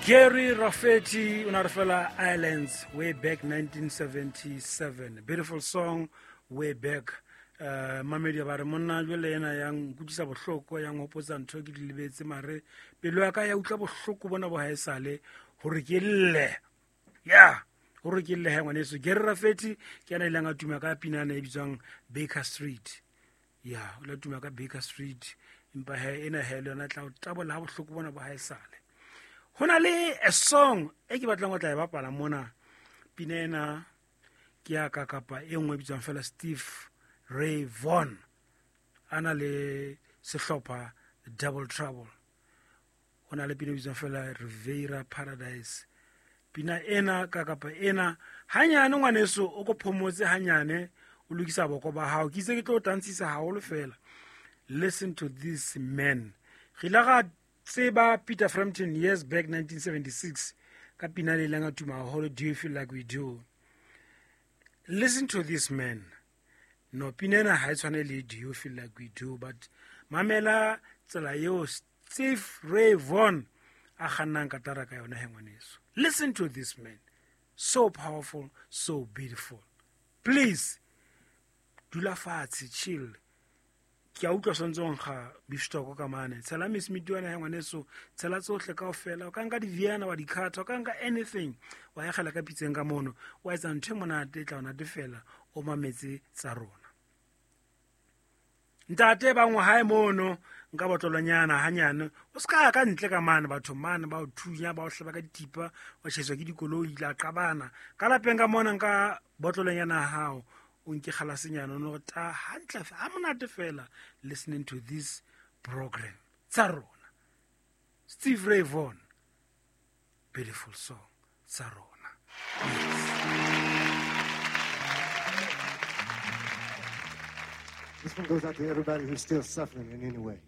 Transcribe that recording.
Gary Rafferty o na re fela Islands way back 1977. Beautiful song way back. Mamedi ba re monna jwale ena ya nkutlwisa bohloko, ya nhopotsa ntho ke di lebetse, mare pelo ya ka ya utlwa bohloko bona bo haesale hore ke lle. Yeah, hore ke lle he ngwaneso. Gary Rafferty ke yena a ileng a tuma ka pinana e bitswang Baker Street. Ya, o la tuma ka Baker Street, empa he ena he le yona tla o tabola ha bohloko bona bo haesale. Ho na le a song e ke batlang ho tla e bapala mona. Pina ena ke ya ka kapa e nngwe e bitswang fela Steve Ray Vaughan, a na le sehlopha Double Trouble. Ho na le pina e bitswang fela Riviera Paradise. Pina ena ka kapa ena hanyane ngwaneso o ko phomotse hanyane, o lokisa boko ba hao. Ke itse ke tlo tantshisa haholo fela. Listen to this man. Re ile ra tseba Peter Frampton years back 1976 ka pina le ileng a tuma haholo, Do You Feel Like We Do. Listen to this man. No, pina ena ha e tshwane le Do You Feel Like We Do, but mamela tsela eo Steve Ray Vaughan a kgannang katara ka yona he ngwaneso. Listen to this man. So powerful, so beautiful. Please, dula fatshe, chill. Ke a utlwa swantse o nkga beef stock ka mane. Tshela Miss Mitiwana ya ngwaneso, tshela tsohle kaofela. O ka nka di-Vienna wa di cutter, o ka nka anything. Wa e kgela ka pitseng ka mono. Wa etsa ntho e monate, e tla o natefela, o mametse tsa rona. Ntate ba ngwe hae mono, nka botlolonyana hanyane. O ska ya ka ntle ka mane, batho mane ba o thunya, ba o hlaba ka dithipa, wa tjheswa ke dikoloi, la qabana. Ka lapeng ka mona nka botlolonyana ya hao, o nke kgalasenyana, o no ta hantle, ha monate fela, listening to this program. Tsa rona. Steve Ray Vaughan, beautiful song, tsa rona. Yes. This one goes out to everybody who's still suffering in any way.